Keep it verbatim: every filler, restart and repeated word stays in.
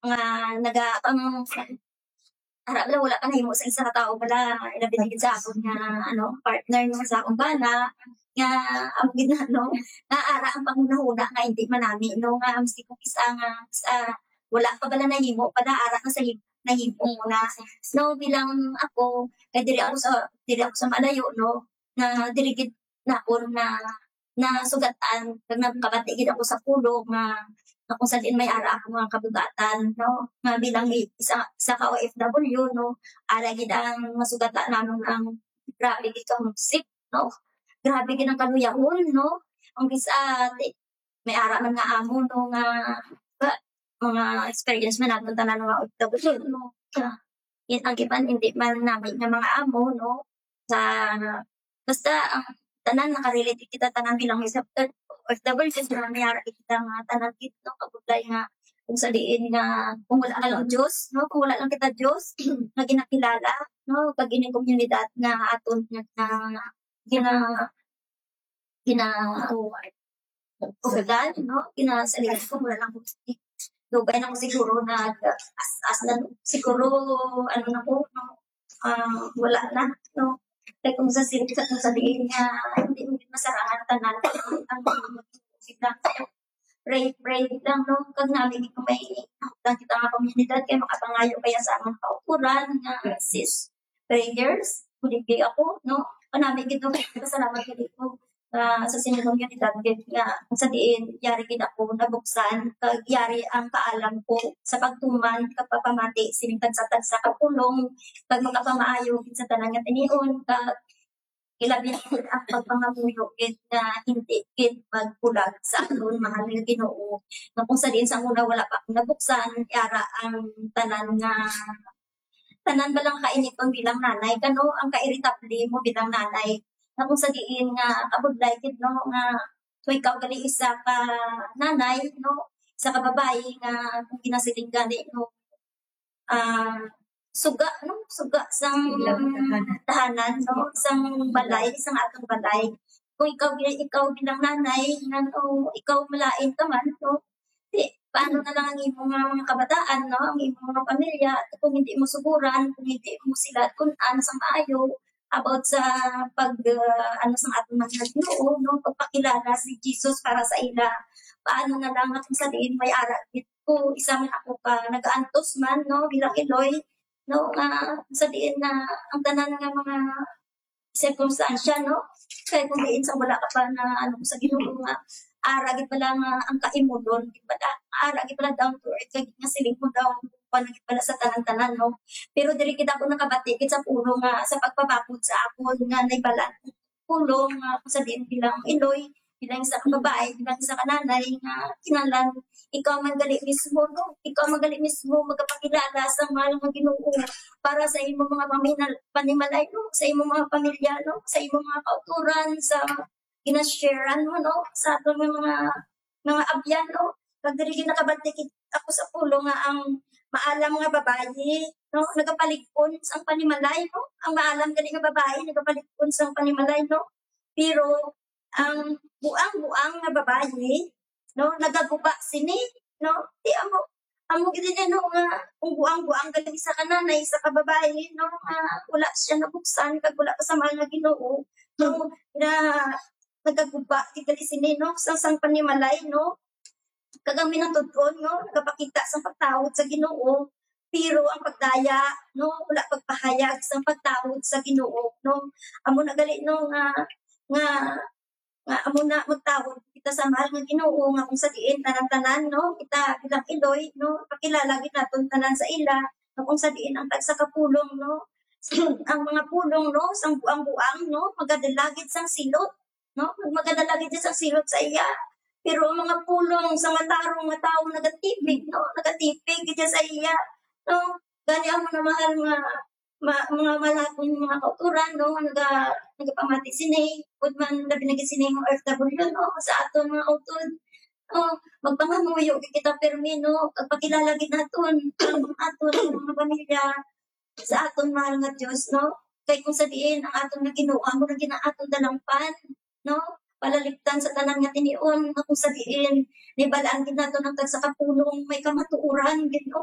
nga naga-, ang ara bala, wala pa nahimo sa isa ka tawo bala, ilabi na gid sa akon nga, ano, partner, no, sa akong bana, nga, amo gid na, no, nga ara ang panghunahuna nga hindi manami, no, nga maski kung isa nga, isa, wala pa bala nahimo, bala ara na sa him-, nahimo mo na. No, bilang ako, kay diri ako sa, diri ako sa malayo, no, na diri gid na ako na, na sugatan, kag nagkabati gid ako sa pulong nga, nga kung sa diin may ara ako nga kabugatan, no? Nga bilang i-, isa, isa ka O F W, no? Ara gid ang masugatan namon ang grabe gid ka homesick, no? Grabe gid ang kaluyahon, no? Ang bisa, ti-, may ara man nga amo, no, nga, ba, mga experience man naton tanan nga O F W, no? Nga, yun ang iban, hindi man namin nga mga amo, no? Sa, basta ang tanan, nakarelate kita tanan bilang isa, O F W, sa mga may ara kita nga tanan gid, no? Kabudlay nga kung sa diin nga, kung wala lang Diyos, no? Kung wala lang kita Diyos, nga ginakilala, no? Kag ini komunidad nga aton nga, nga gina-, gina-, usulan, no? Ginasaligan ko, wala lang ko. Dugay na ko siguro nag-as-as na, siguro, ano na ko, no? Ah, wala na, no? Kay kung sa sin-, sa, kung sa diin nga, hindi mo gid masarangan tanan, ang mga sila. Pray, pray lang, no? Kag nami gid kung may nahutdan kita nga komunidad, kay makapangayo kaya sa among kauturan nga sis prayers, kuligay ako, no? Kanami gid, no? Pasalamat gid ko, ah, sa sining komunidad gid nga sa diin yari gid ako nabuksan, kag yari ang kaalam ko sa pagtuman kag pagpamati sining tagsa-tagsa ka pulong, kag makapamaayo gid sa tanan nga tinion, kag ilabi na gid ang pagpangamuyo gid nga hindi gid magbulag sa aton mahal nga Ginoo, nga kung sa diin sa una wala pa ako nabuksan, yara ang tanan nga, tanan ba lang kainiton bilang nanay, kano ang kairitable mo bilang nanay, nga kung sa diin nga kabudlay gid, no, nga kung ikaw gali isa ka nanay, no, isa ka babayi nga kung ginasiling gani, no, ah, suga, no, suga sang Ilang tahanan. Tahanan, no, sang balay, sang atong balay. Kung ikaw, ikaw bilang nanay, nga, o ikaw malain ka man, no, di, paano na lang ang imo nga mga kabataan, no, ang imo mga pamilya, kung hindi mo suguran, kung hindi mo sila kun-an sang maayo about sa pag, ah, ano, sang aton mga Ginoo, no, pagpakilala si Jesus para sa ila. Paano na lang kung sa diin may ara gid ko, isa man ako ka nagaantos man, no, bilang iloy, no, nga sa diin na ang tanan nga mga sirkumstansya, no, kay kung diin sa wala ka pa na, ano, sa Ginoo nga ara gid pala nga ang kaimulon gid pala, ara gid pala down to earth, kay nga siling mo daw, kuwan gid pala sa tanan-tanan, no. Pero diri gid ako nakabati gid sa pulong nga sa pagpabakod sa akon nga naibalaan pulong nga kung sa diin bilang iloy, bilang isa ka babae, bilang isa ka nanay nga kinahanglan ikaw man gali mismo, no? Ikaw man gali mismo magapakilala sa mahal nga Ginoo para sa imo mga paminal-, panimalay, no? Sa imo mga pamilya, no? Sa imo mga kauturan, sa ginasharean mo, no? Sa aton nga mga, mga abyan, no? Kag diri gid nakabati gid ako sa pulong nga ang maalam nga babayi, no, nagapalig-on sang panimalay, no? Ang maalam gani nga babayi nagapalig-on sang panimalay, no? Pero ang buang-buang nga babayi, no, nagaguba sini, no? Di amo, amo gid ini, no, nga kung buang-buang gani sa kananay, sa kababayi, no, nga wala siya nabuksan kag wala pa sa mahal nga Ginoo, no, na nagaguba gid gali sini, no, sa sang panimalay, no? Kag ang manatud-on, no, nagapakita sang pagtahod sa Ginoo, pero ang pagdaya, no, wala pagpahayag sang pagtahod sa Ginoo, no? Amo na gali, no, nga, nga, nga amo na magtahod kita sa mahal nga Ginoo, nga kung sa diin tanan-tanan, no, kita bilang iloy, no, pakilala gid naton tanan sa ila, nga kung sa diin ang tagsa ka pulong, no, ang mga pulong, no, sang buang-buang, no, magadala gid sang silot, no? Magadala gid sang silot sa iya. Pero ang mga pulong sa matarong nga tawo nagatipig, no? Nagatipig gid sa iya, no? Gani, amo na, mahal nga ma-, mga malakon, mga kauturan, no? Naga-, nagapamati sini, pud man labi na gid sini nga O F W, no? Sa aton mga utod, no? Magpangamuyo gid kita pirmi, no? Pagpakilala gid naton ang aton mga pamilya sa aton mahal nga Dios, no? Kay kung sa diin ang aton nga Ginoo amo na gid ang aton dalangpan, no? Palaliktan sa tanan nga tinion, nga kung sa diin nibal-an gid naton ang tagsa ka pulong may kamatuoran gid, no?